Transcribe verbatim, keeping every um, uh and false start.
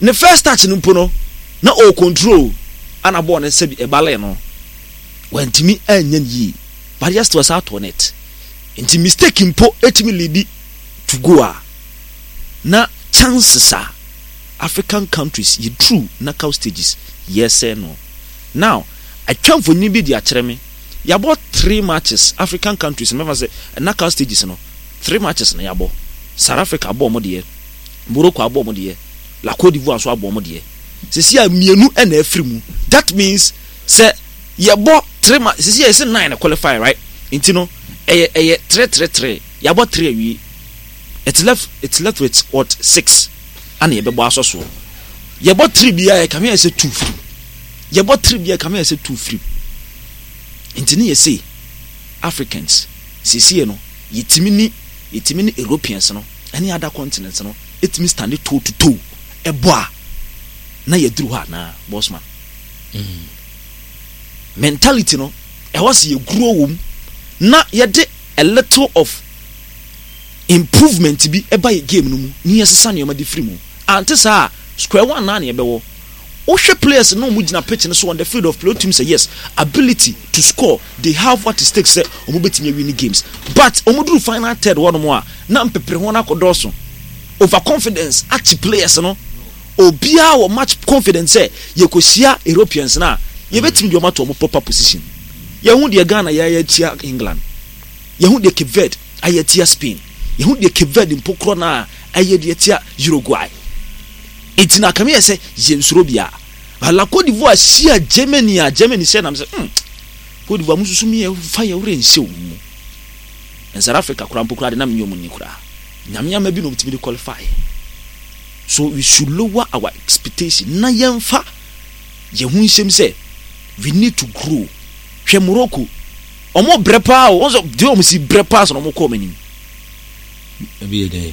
Ne first touch no mpo no, na o control ana bɔɔl no sɛbi ɛbalɛ no, wantumi anya no yie, but yɛ still ɛsa atɔ net. Nti mistake mpo etumi lead to goal a, na chances a African countries yɛ through knockout stages yɛsɛ no. Now atwa mfonyin bi de akyerɛ me, yɛabɔ three matches, African countries no, mɛfa sɛ knockout stages no, three matches na yɛabɔ. South Africa abɔ ɔmo deɛ, Morocco abɔ ɔmo deɛ, la Cote d'Ivoire nso abɔ ɔmo deɛ. Sisi a mmienu ɛna afiri mu. That means sɛ yɛbɔ three ma sisi a yɛsɛ nine na qualify, right? Nti no ɛyɛ ɛyɛ three three three, yɛabɔ three awie. it's left it's left with what, six ana yɛbɛbɔ asɔ soɔ. Yɛbɔ three biara, yɛ kame yɛ sɛ two firi. Yɛbɔ three biara, kame yɛ sɛ two firi. Nti ne yɛ sɛ Africans siesie no, yɛtumi ni yɛtumi ne Europeans no ɛne other continents no ɛtumi stand toe to toe ɛbɔ a, na yɛduru hɔ anaa, bossman? Mentality no, ɛhɔ sɛ yɛguro wɔ mu na yɛde a little of improvement bi ɛba yɛ game no mu ne yɛsesa nneɛma de firi mu. Ante saa, square one naa ne yɛbɛwɔ. Wohwɛ players no, ɔmo gyina pitch no so, on the field of play, otum sɛ yes, ability to score, they have what it takes sɛ ɔmo bɛtumi awin games, but ɔmo duru final third hɔ nom a, na mpepere ho no akɔdɔɔso, over confidence akyi players no. Obiara wɔ much confidence sɛ yɛkɔhyia Europeans no a, yɛbɛtumi deɛ ɔmo ato ɔmo proper position. Yɛho deɛ Ghana yɛayɛ tia England, yɛho deɛ Cape Verde ayɛ tia Spain, yɛho deɛ Cape Verde mpo korɔ no a ɛyɛ deɛ tia Uruguay. Nti na akame yɛ sɛ yɛnsuro bia. La Cote d'Ivoire hyia Germany a, Germany hyɛ nam sɛ hmm Cote d'Ivoire mususu mi yɛ fa yɛ werɛ nhyɛ wɔn mu. South Africa koraa mpo koraa de nam nyɛ ɔmo ni koraa, Nyame ama bi na ɔmo tumi de qualify. So we should lower our expectation na yɛnfa yɛn ho nhyɛm sɛ we need to grow. Hwɛ Morocco, ɔmo brɛ paa o, wɔn sɛ deɛ ɔmo si brɛ paa so na ɔmo kɔ ɔmo anim. Ebi yɛ dɛ.